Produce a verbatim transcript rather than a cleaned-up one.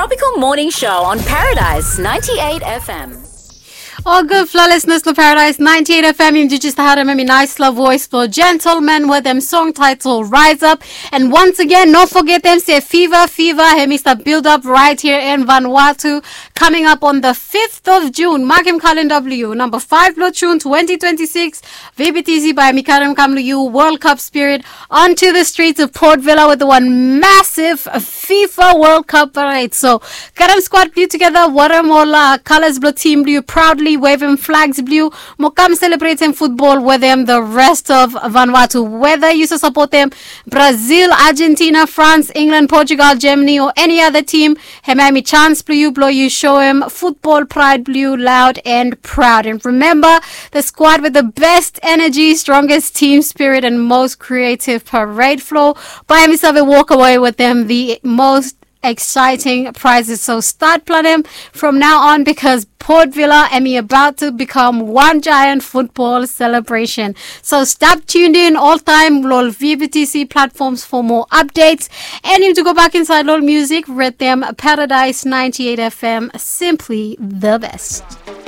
Tropical Morning Show on Paradise ninety-eight F M. Ol gudfala lisenas long Paradise ninety-eight F M, yumi jes harem hemi naesfala voes blong Gentleman wetem song taetel Rise Up. And once again, no fogetem se Fever Fever hemi stap build up right here in Vanuatu. Coming up on the fifth of June, makem kalenda blong yu, namba five blong June twenty twenty-six, V B T C bae hemi karem kam long yu World Cup spirit onto the streets of Port Vila with one massive FIFA World Cup parade. So karem squad blong yu tugeta, warem ol kalas blong tim blong yu, proudly wavem flags blong yu, mo kam selebretem futbol wetem the rest of Vanuatu. Whether yu save sapotem Brazil, Argentina, France, England, Portugal, Germany, o eni other tim, hemia hemi chance blong yu blong yu soem futbol praed blong yu loud and proud. And remember, the squad with the best energy, strongest team spirit, and most creative parade flow bae hemi save walk away wetem the most exciting prizes. So start planem from now on, because Port Vila hemi about to become one giant football celebration. So stap tuned in oltaem long V B T C platforms for more updates. And yumi tu go bak insaed long music, retem Paradise ninety-eight F M, simply the best.